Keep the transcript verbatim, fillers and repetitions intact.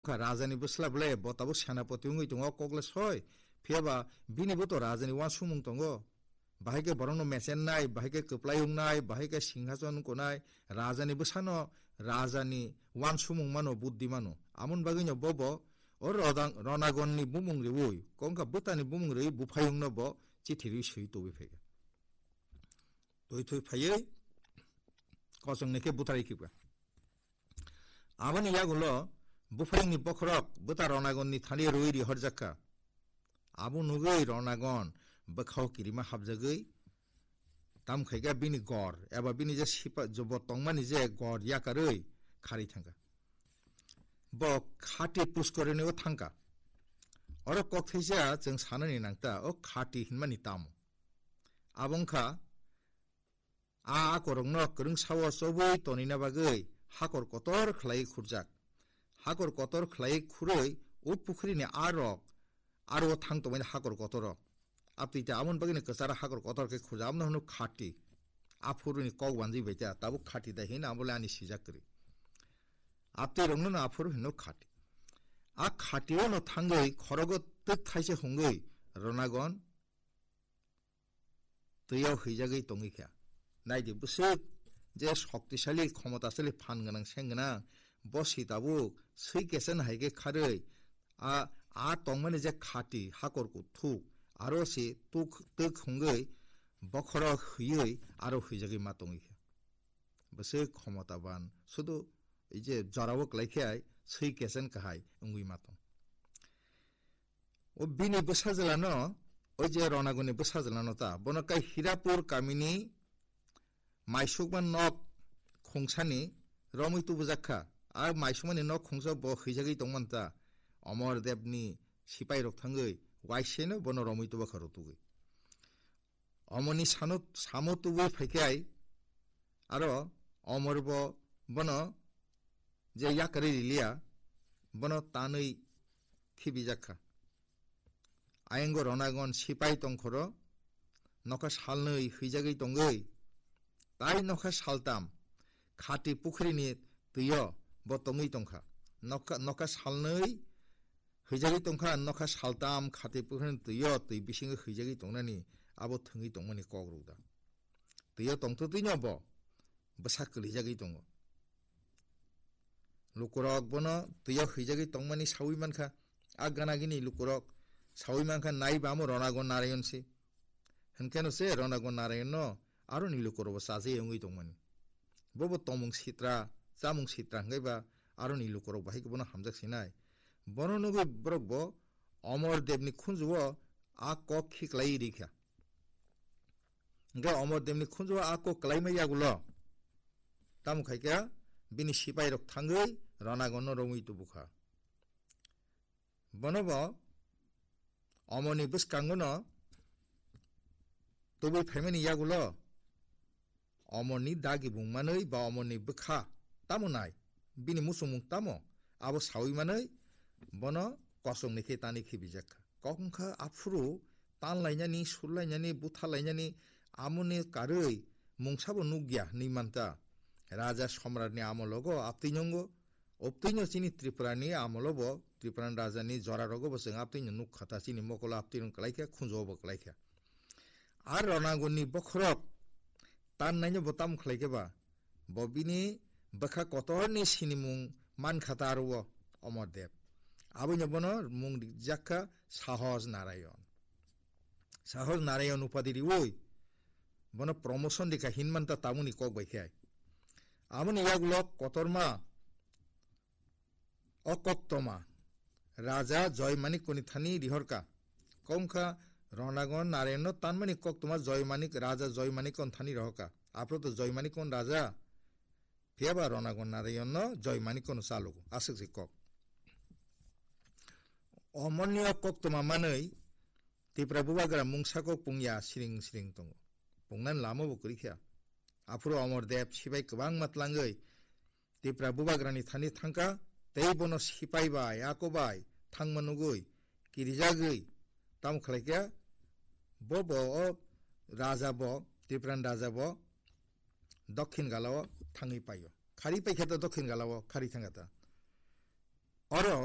Kha rajani bwsla bwle bo tabuk senapati wngwi tongo, kok le soi. Phiya ba bini bo to rajani uansukmung tongo. Bahai khe borokno mechennai, bahai khe kwplai wngnai, bahai khe singhason wngkonai, rajani bwsano rajani uansukmung mano, buddhi mano. Amoni bagwino bobo o rodang-, Ronagonni bumung riui, kok wngkha bwtani bumung riui buphai wngno bo chithi riui swi tubui phaikha. Twi thwi phaiwi kosongni khe butharwi khibkha. Aboni yagulo buphayungni bokhorok bwta Ronagonni thani rwi rihorjakha. Abo nugwi Ronagon bwkhao kirima hapjagwi, tam khaikha bini gor, eba bini je sipa-, jobo tongmani je gor yakarwi kharwi thangkha. Bo khati puskorinio thangkha. Oro kok thaisa chwng sanani nangta, o khati hinmani tamo? Abo wngkha a akorokno kwrwngsao chobwi tonina bagwi hakor kotor khlaiwi khurjak. Hakor kotor khlaiwi khurwi o pukhrini arok aro thang tongmani hakor kotoro. Abtwi ta amon bagwino kwcharo hakor kotor khe khurjak, abono hwno khati. Aphuruni kok banjwi bai ta, tabuk khati da hino, abole ani sijak kwrwi. Abtwi rokno no aphuru hino khati. A khati ono thangwi khorogo twk thaisa hungwi Ronagon twio hwijagwi tongwi kha. Naidi bwswk je shoktisali, khomotasali, phan gwnang, seng gwnang, bo si tabuk swi kesen hai khe kharwi a, a tongmani je khati hakor kuthuk, aro si tuk, twk hungwi bokhoro hwiwi aro hwijagwi ma tongwi kha. Bwswk khomotaban, sudu ei je jorao kwlai khe ai swi kesen kahai wngwi ma tong. O bini bwsajwlano, o je Ronagonni bwsajwlano ta, bono kai Hirapur kamini maisukma nok khungsani romwi tubujak kha. A maisukmani nok khungsa bo hwijagwi tongmani ta, Omor Debni sipairok thangwi waiseno bono romwi tubakha rutugwi. Omoni sano, samo tubui phaikhai, aro Omor bo bono je yakarwi riliya, bono tanwi khibijak kha. Ayango Ronagon sipai tongkhoro nokha salnwi hwijagwi tongwi, tai nokha saltam khati pukhrini twio bo tongwi tongkha. Nokha, nokha salnwi hwijagwi tongkha, nokha saltam khati pukhrini twio twi bisingo hwijagwi tongnani abo thwngwi tongmani kok rwda. Twio tongtwtwino bo bwsa kwlijagwi tongo. Lukurok bono twio hwijagwi tongmani sawi mankha. A ganagini lukurok sawi mankha, naiba amo Ronagon Narayon se. Hwnkheno se Ronagon Narayon no aroni lukurok bo chajawi wngwi tongmani. Bobo tomung sitra, chamung sitra hwnkhe ba aroni lukurok bahai bono hamjak sinai. Bono nugwi borok bo Omor Debni khunjuo a kok khiklai rikha. Hwnkhe Omor Debni khunjuo a kok kwlaima yagulo tamo khaikha bini sipairok thangwi Ronagonno romwi tubukha. Bono bo Omorni bwskangono tubui phaimani yagulo Omorni dagi bung manwi ba Omorni bwkha tamo nai, bini muchungmung tamo, abo sawi manwi bono kosongni khe tanwi khibijak kha. Kok wngkha aphuru tanlainani, surlainani, buthalainani, amoni karwi mungsabo nukya hinwi manta. Raja Somratni amologo aptwi nungo, obtwino chini Tripurani amolobo, Tripurani rajani jorarogo bo chwng aptwino nukha ta, chini mokolo aptwino kwlaikha, khunjuo bo kwlaikha. Ar Ronagonni bokhorok tannaino bo tamo khlaikhe ba, bo bini bwkha kotorni sinimung mankha ta aro o Omor Deb. Aboino bono mung rijak kha Sahoj Narayon. Sahoj Narayon upadi riui bono promotion rikha hinmanta tamoni kok bai khe. Aboni yagulo kotorma o koktoma Raja Joy Manikko ni thani rihorka. Kok wngkha Ronagon Narayon no tanmani koktoma Joy Manik, Raja Joy Manikko ni thani rihorka. Aphuru to Joy Manikko ni raja, phiyaba Ronagon Narayon no Joy Manikko no chalogo. Aswk se kok. Omorni o koktoma manwi Tipra bubagra mungsa kok pungya siring siring tongo. Pungnani lama bo kwrwi kha. Aphuru Omor Deb sibai kwbangma tlangwi Tipra bubagrani thani thangkha, tei bono sipai bai, ako bai thangma nugwi kirijagwi tamo khlaikha, bo bo o raja bo, Tiprani raja bo dokhin galao thangwi paio. Khari paikha ta dokhin galao khari thangkha ta. Oro